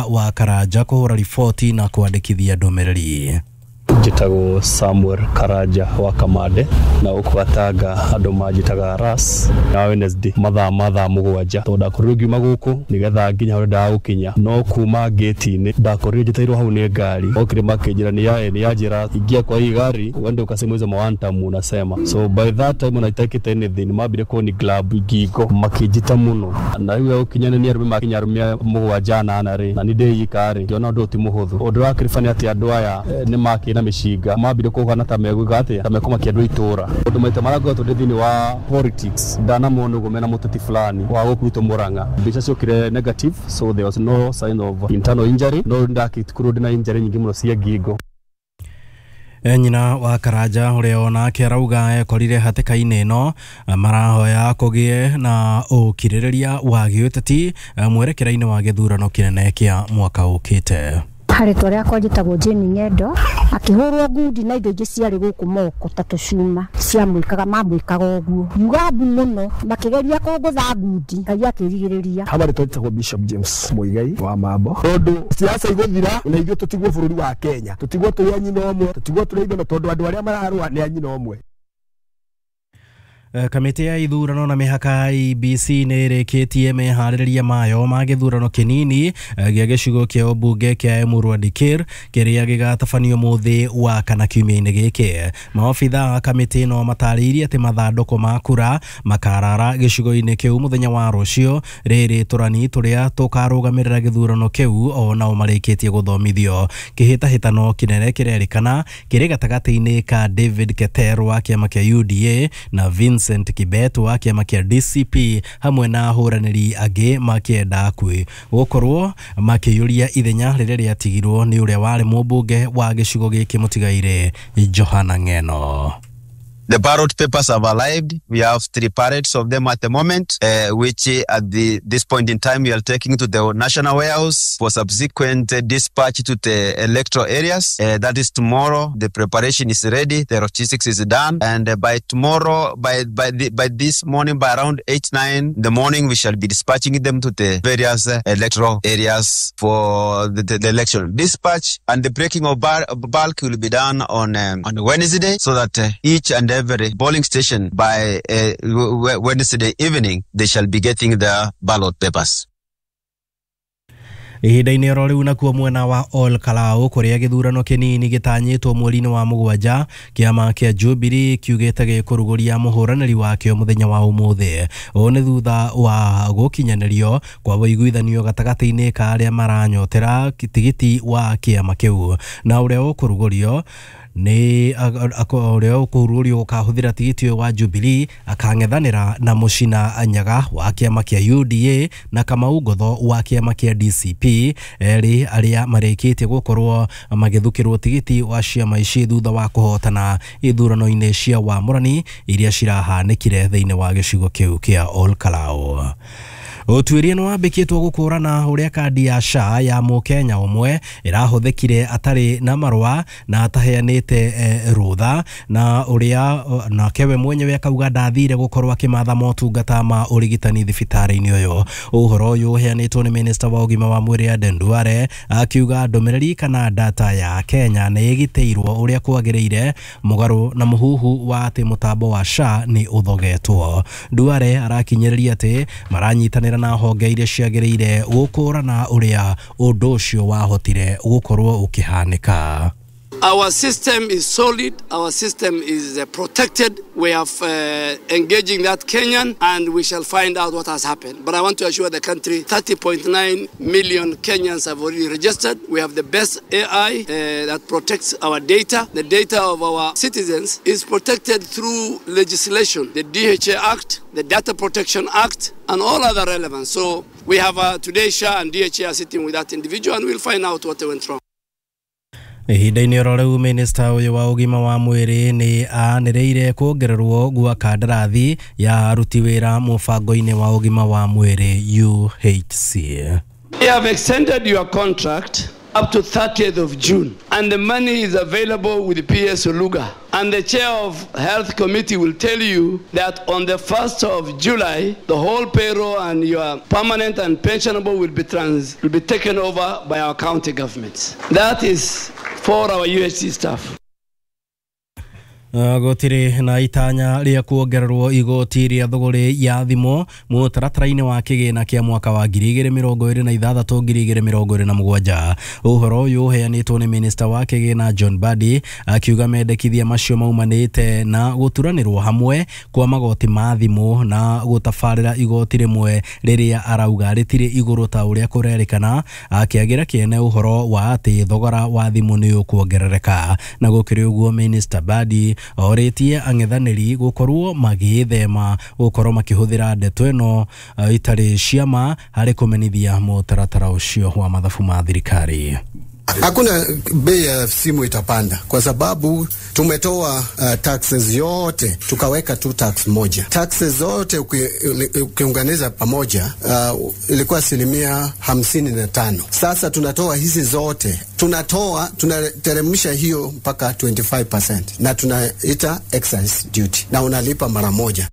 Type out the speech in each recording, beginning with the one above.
Wa Karanja kũhũra riboti na kwandĩkithia ndũmĩrĩri. Njĩtagwo Samuel Karanja wa Kamande, na gũkũ Gatanga andũ manjĩtaga Ras. Na Wednesday mathaa ma thaa 7, tondũ ndakorirwo ngiuma gũkũ nĩgetha nginya harĩa ndendaga gũkinya, no kuma ngĩti-inĩ ndakorirwo njetereirwo hau nĩ ngari. Okire makĩnjĩra nĩ yanjĩra, "Ingia kwa hii gari uende ukasema hizo mawantam unasema." So by that time ona itakĩte anything, mambire kũni grab ngingo makĩnjita mũno, na rĩu gũkinya nĩ arũme makinya arũme 7 8 rĩ, na nĩ ndĩika rĩ, ngĩona ũndũ ũyũ ti mũhũthũ. Ũndũ wa kĩrĩba nĩ atĩ andũ aya nĩ makĩ na mĩcinga, mambire kũhana ta megwĩka atĩa, ta mekũmakia andũ a itũra, ũndũ maita marĩa ngoretwo ndĩ thĩinĩ wa politics ndanamona ũguo mena mũteti fulani wa gũkũ gwitũ Murang'a. Mbica ciokire negative, so there was no sign of internal injury, no ndakĩkorwo ndĩna injury nyingĩ mũno cia ngingo. Nyina wa Karanja, ũrĩa onake arauga ekorire hatĩka-inĩ ĩno, marahoya kũgĩe na ũkirĩrĩria wa gĩũteti mwerekera-inĩ wa gĩthurano kĩnene kĩa mwaka ũkĩte. Harĩtwa rĩakwa njĩtagwo Jane Ng'endo. Akĩhũrwo ngundi na indo ingĩ ciarĩ gũkũ moko ta tũcuma ciamwĩkaga, mamwĩkaga ũguo yuga mbu mũno, makĩgeria kũngũtha ngundi, Ngai akĩrigĩrĩria. Habari, twĩtagwo Bishop James Muigai wa Mambo. Tondũ siasa igũthira na ithuĩ tũtigwo bũrũri wa Kenya, tũtigwo tũrĩ a nyina ũmwe, tũtigwo tũrĩ aigana, tondũ andũ arĩa mararũa nĩ a nyina ũmwe. Kamĩtĩ ya ithurano na mĩhaka IEBC nĩ ĩrĩkĩtie meharĩrĩria mayo ma gĩthurano kĩnini gĩa gĩcigo kĩa ũmbunge kĩa Emurua Dikirr kĩrĩa gĩgatabanio mũthĩ wa kana kiumia-inĩ gĩkĩ. Maobitha a kamĩtĩ ĩno matarĩirie atĩ mathandũkũ ma kura makarara gĩcigo-inĩ kĩu mũthenya wa rũciũ. Rĩrĩ tũrani tũrĩa tũkarũgamĩrĩra gĩthurano kĩu o nao marĩkĩtie gũthomithio. Kĩhĩtahĩtano kĩnene kĩrerĩkana kĩrĩ gatagatĩ-inĩ ka David Keter wa kĩama kĩa UDA na Vincent Kibet wa kĩama kĩa DCP, hamwe na ahũranĩri angĩ makĩenda kwĩ gũkorwo makĩiyũria ithenya rĩrĩa rĩatigirwo nĩ ũrĩa warĩ mũmbunge wa gĩcigo gĩkĩ mũtigaire Johana Ng'eno. The ballot papers have arrived. We have three pallets of them at the moment, which at this point in time we are taking to the national warehouse for subsequent dispatch to the electoral areas. That is tomorrow. The preparation is ready. The logistics is done, and by tomorrow, by this morning, by around 8, 9 in the morning, we shall be dispatching them to the various electoral areas for the election. Dispatch and the breaking of bulk will be done on Wednesday, so that each and every polling station by Wednesday evening they shall be getting their ballot papers. Ihinda-inĩ oro rĩu, nakuo mwena wa Ol Kalou, kũrĩa gĩthurano kĩnini gĩtanyĩtwo mweri-inĩ wa 7, kĩama kĩa Jubilee kiugĩte gĩkũrugũria mũhũranĩri wakĩo mũthenya wa ũmũthĩ. Ũũ nĩ thutha wa gũkinyanĩrio kwa ũiguithanio gatagatĩ-inĩ ka arĩa maranyotera tigiti wa kĩama kĩu, na ũrĩa ũkũrugũrio nĩ ũrĩa ũkũrugũrio gũkahũthĩra tigiti ũyũ wa Jubilee akang'ethanĩra na Mũcina Nyaga wa kĩama kĩa UDA na Kamau Ngotho wa kĩama kĩa DCP, erĩ arĩa marĩkĩtie gũkorwo magĩthukĩrwo tigiti wa ciama ici thutha wa kũhotana ithurano-inĩ cia wamũrani iria cirahanĩkire thĩinĩ wa gĩcigo kĩu kĩa Ol Kalou. Ũtuĩria nĩ wambĩkĩtwo gũkũrana ũrĩa kandi ya SHA ya mũkenya ũmwe ĩrahũthĩkire atarĩ na marũa na ataheanĩte rũtha, na ũrĩa nake we mwenyewe akauga ndathire gũkorwo akĩmatha motungata ma ũrigitani thibitarĩ-inĩ ũyũ. Ũhoro ũyũ ũheanĩtwo nĩ minista wa ũgima wa mwĩrĩ Aden Duale, akiuga ndũmĩrĩri kana data ya Kenya nĩ ĩgitĩirwo ũrĩa kwagĩrĩire, mũgarũ na mũhuhu wa atĩ mũtambo wa SHA nĩ ũthogetwo. Duale arakinyĩrĩria atĩ maranyitanĩra na honge iria ciagĩrĩire gũkũrana ũrĩa ũndũ ũcio wahotire gũkorwo ũkĩhanĩka. Our system is solid, our system is protected. We are engaging that Kenyan and we shall find out what has happened. But I want to assure the country 30.9 million Kenyans have already registered. We have the best AI that protects our data. The data of our citizens is protected through legislation, the DHA Act, the Data Protection Act, and all other relevant. So we have today SHA and DHA are sitting with that individual and we'll find out what went wrong. Ihinda-inĩ oro rĩu, minista ũyũ wa ũgima wa mwĩrĩ nĩ anĩrĩire kuongererwo gwa kandarathi ya aruti wĩra mũbango-inĩ wa ũgima wa mwĩrĩ UHC. We have extended your contract up to 30th of June. And the money is available with PS Oluga. And the chair of Health Committee will tell you that on the 1st of July, the whole payroll and your permanent and pensionable will be taken over by our county governments. That is for our UHC staff. Gũtirĩ na itanya rĩa kuongererwo igoti rĩa thũgũrĩ ya thimũ mũtaratara-inĩ wa kĩgĩna kĩa mwaka wa 2026 2027. Ũhoro ũyũ ũheanĩtwo nĩ minista wa kĩgĩna John Mbadi akiuga mendekithia macio maumanĩte na gũturanĩrwo hamwe kwa magoti ma thimũ na gũtabarĩra igoti rĩmwe rĩrĩa arauga rĩtirĩ igũrũ ta ũrĩa kũrerĩkana, akĩagĩra kĩene ũhoro wa atĩ thogora wa thimũ nĩ ũkuongerereka. Na gũkĩrĩ ũguo minista Mbadi orĩtie ang'ethanĩri gũkorwo magĩthema gũkorwo makĩhũthĩra ndeto ĩno itarĩ ciama harĩ kũmenithia mũtaratara ũcio wa mathabu ma thirikari. Hakuna bei ya simu itapanda kwa sababu tumetoa taxes yote tukaweka tu tax moja. Taxes zote ukiunganisha pamoja ilikuwa 55%. Sasa tunatoa hizi zote, tunateremsha hiyo mpaka 25% na tunaita excise duty na unalipa mara moja.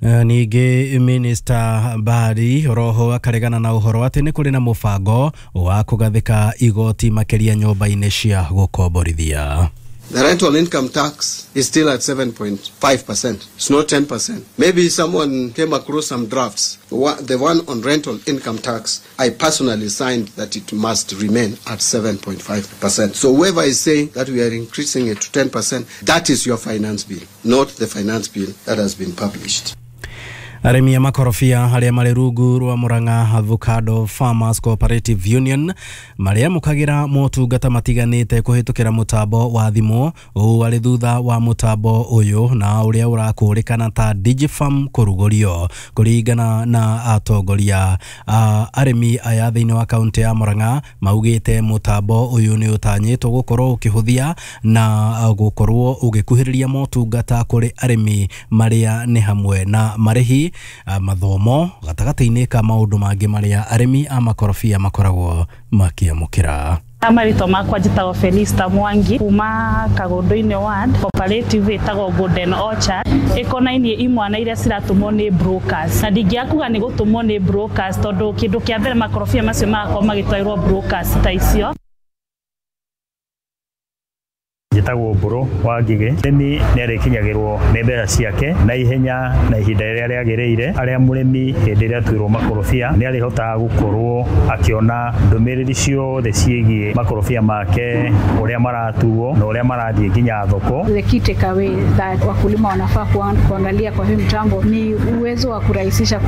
Ningĩ minista Mbadi roho akaregana na ũhoro atĩ nĩ kũrĩ na mũbango wa kũgathĩka igoti makĩria nyũmba-inĩ cia gũkomborithia. The rental income tax is still at 7.5%. It's not 10%. Maybe someone came across some drafts. The one on rental income tax, I personally signed that it must remain at 7.5%. So whoever is saying that we are increasing it to 10%, that is your finance bill, not the finance bill that has been published. Arĩmi a makorobia arĩa marĩ rungu rwa Murang'a Avocado Farmers Cooperative Union marĩamũkagĩra motungata matiganĩte kũhĩtũkĩra mũtambo wa thimũ ũũ arĩ thutha wa mũtambo ũyũ na ũrĩa ũrakũrĩkana ta Digifarm kũrugũrio. Kũringana na atongoria a arĩmi aya thĩinĩ wa kaũntĩ ya Murang'a maugĩte mũtambo ũyũ nĩ ũtanyĩtwo gũkorwo ũkĩhũthia na gũkorwo ũgĩkuhĩrĩria motungata kũrĩ arĩmi marĩa nĩ hamwe na marĩhi, mathomo gatagatĩ-inĩ ka maũndũ mangĩ marĩa arĩmi a makorobia makoragwo makĩamũkĩra. Marĩtwa makwa njĩtagwo Felista Mwangi kuma Kagundu-inĩ ward, cooperative ĩtagwo Golden Orchard ĩkonainie imwana iria ciratũmwo nĩ brokers, na ndingĩakuga nĩ gũtũmwo nĩ brokers tondũ kĩndũ kĩa mbere makorobia macio magakorwo magĩtwarĩrwo brokers ta icio. Njĩtagwo Mbũrũ wa Ngigĩ. Mũrĩmi nĩ arĩkinyagĩrwo nĩ mbeca ciake na ihenya na ihinda rĩrĩa rĩagĩrĩire, arĩa mũrĩmi hĩndĩ ĩrĩa atuĩrwo makorobia nĩ arĩhotaga gũkorwo akĩona ndũmĩrĩri ciothe ciĩgiĩ makorobia make, ũrĩa maratuo na ũrĩa marathiĩ nginya thoko. The key takeaway that wakulima wanafaa kuangalia kwa hii mtambo ni uwezo wa kurahisisha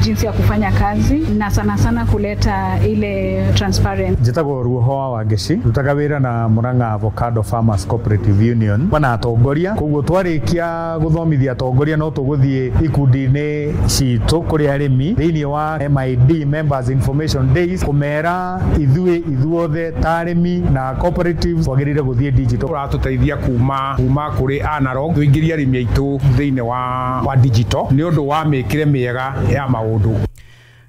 jinsi ya kufanya kazi na sana sana kuleta ile transparent. Njĩtagwo Ruoho wa Ngeci, rutaga wĩra na Murang'a Avocado Farmers Cooperative Union na atongoria, koguo twarikia guthomithia atongoria no tuguthie ikundi-inĩ citũ kũrĩ arĩmi thĩinĩ wa MID Members Information Days kũmera ithuĩ ithuothe ta arĩmi na cooperatives twagĩrĩire gũthiĩ digital. Ũratũteithia kuma kũrĩ analog tũingĩrie arĩmi aitũ thĩinĩ wa digital nĩ ũndũ wa mĩkĩre mĩega ya maũndũ.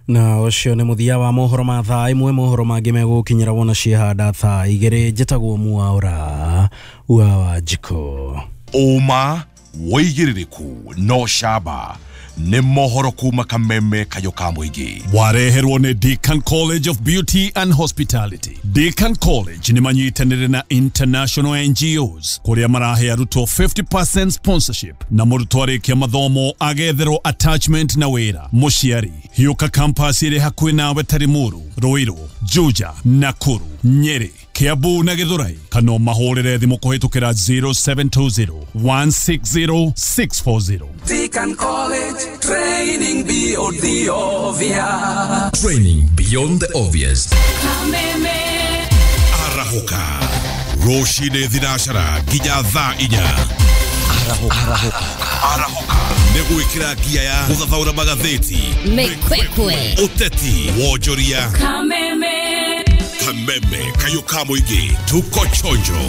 Na ũcio nĩ mũthia wa mohoro ma thaa ĩmwe. Mohoro mangĩ megũkinyĩra wona ciehanda thaa igĩrĩ. Njĩtagwo Mwaũra wa Wanjikũ. Ũma wĩigĩrĩrĩku no camba nĩ mohoro kuma Kameme kayo ka mũingĩ. Wareherwo nĩ Deacon College of Beauty and Hospitality. Deacon College nĩ manyitanĩire na international NGOs kũrĩa marahe arutwo 50% sponsorship na mũrutwo arĩkia mathomo agetherwo attachment na wĩra. Mũciari hiũka campus ĩrĩ hakuhĩ nawe ta Limuru, Ruiru, Juja, Nakuru, Nyeri, Kiambu na Githurai, kana mahũrĩre thimũ kũhĩtũkĩra 0720 160 640. Deacon College, training beyond the obvious. Training beyond the obvious. Arahũka rũcinĩ thinacara nginya thaa inya. Arahũka nĩ gwĩkĩra ngia ya gũthathaũra magathĩti, mĩkwekwe, ũteti, wonjoria, Kameme, Kameme kayo ka mũingĩ, tuko chonjo.